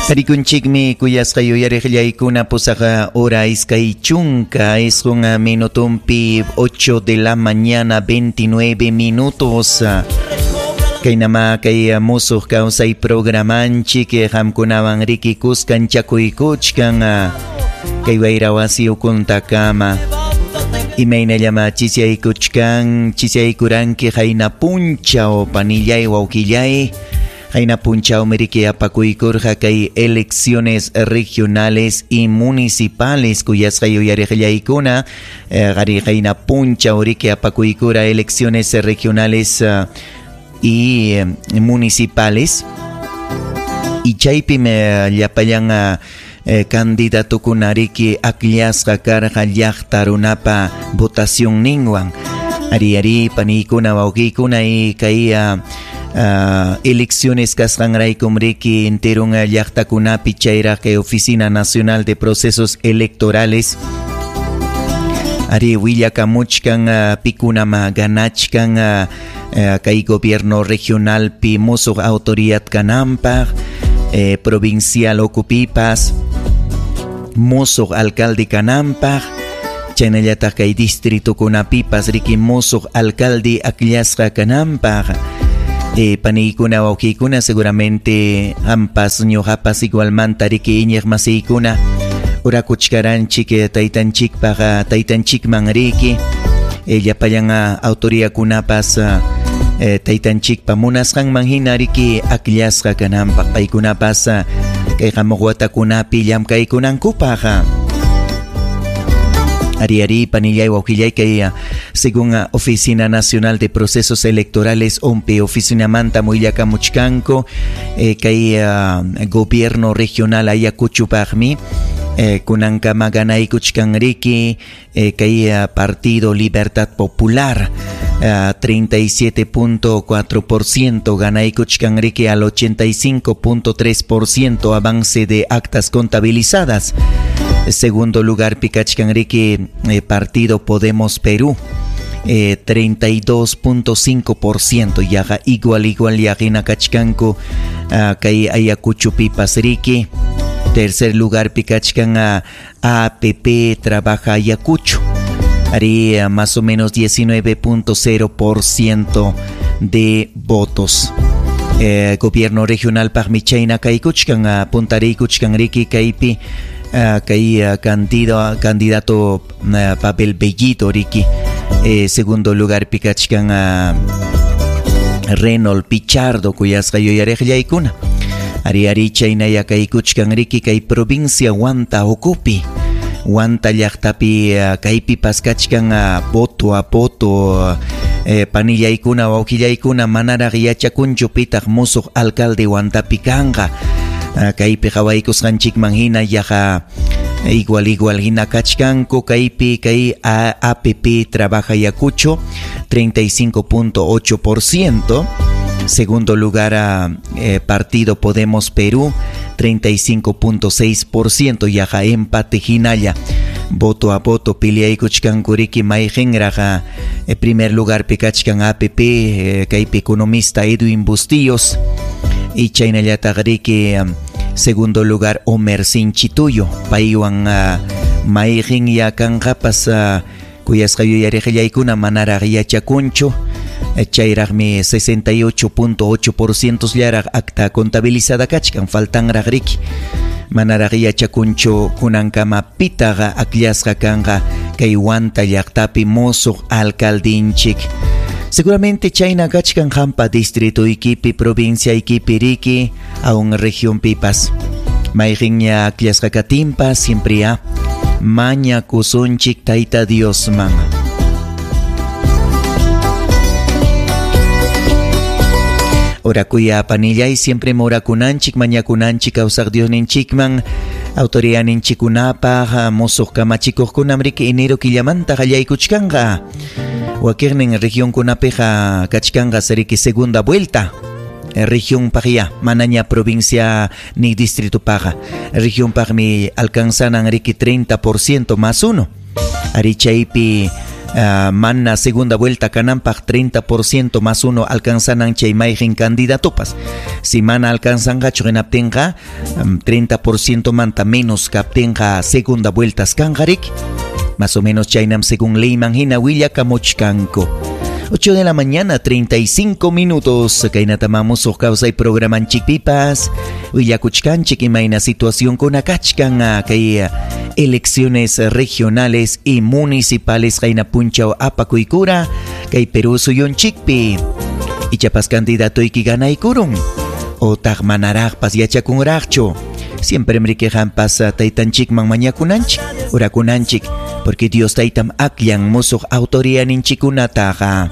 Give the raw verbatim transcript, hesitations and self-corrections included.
Tarikunchikmi kuyasqa yuyariqllaykuna pusaq hora iskay chunka isqun minutumpi ocho de la mañana veintinueve minutos. Kaynama kay musuq kawsay programanchik qamkunawan riki kuskanchakuykuchkan kay wayra wasi ukuntakama. Imaynallama chisyaykuchkan chisyaykuranki qayna punchaw panillay wawqillay. Qayna punchaw miriki apakuykurqa kay elecciones regionales y municipales kuyasqa yuyariqllaykuna qari qayna punchaw riki apakuykura elecciones regionales y municipales y chaypim llapallan candidatukuna riki akllasqa karqa llaqta runapa votación ninwan ari ari paniykuna wawqiykuna y kay Uh, elecciones kasqanraykum riki enterun llaqtakunapi chayraq kay Oficina Nacional de Procesos Electorales ari willakamuchkan uh, pikunama ganachkan uh, uh, kay gobierno regionalpi musuq autoridad kananpaq eh, provincial okupipas musuq alcalde kananpaq chaynallataq kay distritukunapipas riki musuq alcalde akllasqa kananpaq. Eh, paniykuna wawqiykuna seguramente ampas ñuqapas igualmanta riki iñiq masiykuna urakuchkaranchik taytanchikpaq taytanchikman riki eh, llapallan autoriyakunapas eh, taytanchikpa munasqanman hina riki akllasqa kananpaq paykunapas kay hamuq watakunapi llamkaykunankupaq. Ari ari panillay wawqillay kay según Oficina Nacional de Procesos Electorales O N P E oficina manta muillakamuchkanku eh, kay uh, gobierno regional Ayacuchupaqmi eh, kunankama ganaykuchkan riki eh, kay uh, Partido Libertad Popular uh, treinta y siete punto cuatro por ciento ganaykuchkan riki al ochenta y cinco punto tres por ciento avance de actas contabilizadas. Segundo lugar pikachkan riki eh, Partido Podemos Perú eh, treinta y dos punto cinco por ciento yaqa igual igual yaqina kachkanku uh, kay Ayacuchopipas riki. Tercer lugar pikachkan uh, A P P Trabaja Ayacucho ari uh, más o menos diecinueve punto cero por ciento de votos. Eh, gobierno regional paqmi chayna kaykuchkan uh, puntariykuchkan riki kaypi Uh, kay uh, candidato, candidato uh, Pavel Bellito riki. Eh, segundo lugar pikachkan uh, Reynold Pichardo kuyasqa yuyariqllaykuna ari ari chaynaya kaykuchkan riki kay provincia Huanta ukupi Huanta llaqtapi uh, kaypi paskachkan uh, voto a voto uh, eh, panillaykuna wawqillaykuna manaraq yachakunchu pitaq musuq alcalde Huantapi kanqa. Kaypi qhawaykusqanchikman hina yaqa igual igual hina kachkanku kaypi kay A P P Trabaja Ayacucho treinta y cinco punto ocho por ciento. Segundo lugar a eh, Partido Podemos Perú treinta y cinco punto seis por ciento yaqa empate hinalla voto a voto piliaykuchkanku riki mayqinraq eh, primer lugar pikachkan A P P eh, kaypi economista Edwin Bustillos y chaynallataq riki um, segundo lugar Homer Sinchituyo paywan uh, mayqin yakanqapas uh, kuyasqa yuyariqllaykuna manaraq yachakunchu chayraqmi sesenta y ocho punto ocho por ciento llaraq acta contabilizada kachkan faltanraq riki manaraq yachakunchu kunankama pitaqa akllasqa kanqa kay Huanta llaqtapi musuq alcaldinchik. Seguramente chayna kachkan hampa distrito ikipi provincia ikipi riki aun región pipas mayqinña akllasqa katinpas siempre ya mañakusunchik tayta Diosman. Orakuya panillay siempre morakunanchik mañakunanchik kawsaq Diosninchikman autoridaninchikunapaq musuq kamachikuqkunam riki enero killamanta qallaykuchkanqa wakiqnin regionkunapiqa kachkanqa seriki segunda vuelta región paqya manaña provincia ni distrito paqa región paqmi alcanzanan riki treinta por ciento más uno ari chaypi Uh, mana segunda vuelta kananpaq treinta por ciento más uno alcanzanan chay mayqin candidatopas. Si mana alcanzanqachu hinaptinqa, um, treinta por ciento manta menos kaptinqa segunda vueltas kanqarik. Más o menos chaynam según leyman hina willakamuchkanku. ocho de la mañana, treinta y cinco minutos. Kaynata mamusuq kawsay programanchikpipas. Willakuchkanchik imayna situación kunakachkan kay elecciones regionales y municipales qayna punchaw apakuykura kay Perú suyunchikpi. Ichapas candidatoyki ganaykurun otaq manaraqpas yachakunraqchu. Siempre mriquejanpas taytanchikman mañakunanchik, orakunanchik, porque Dios taytam akllan musuq autoriyaninchikunataqa.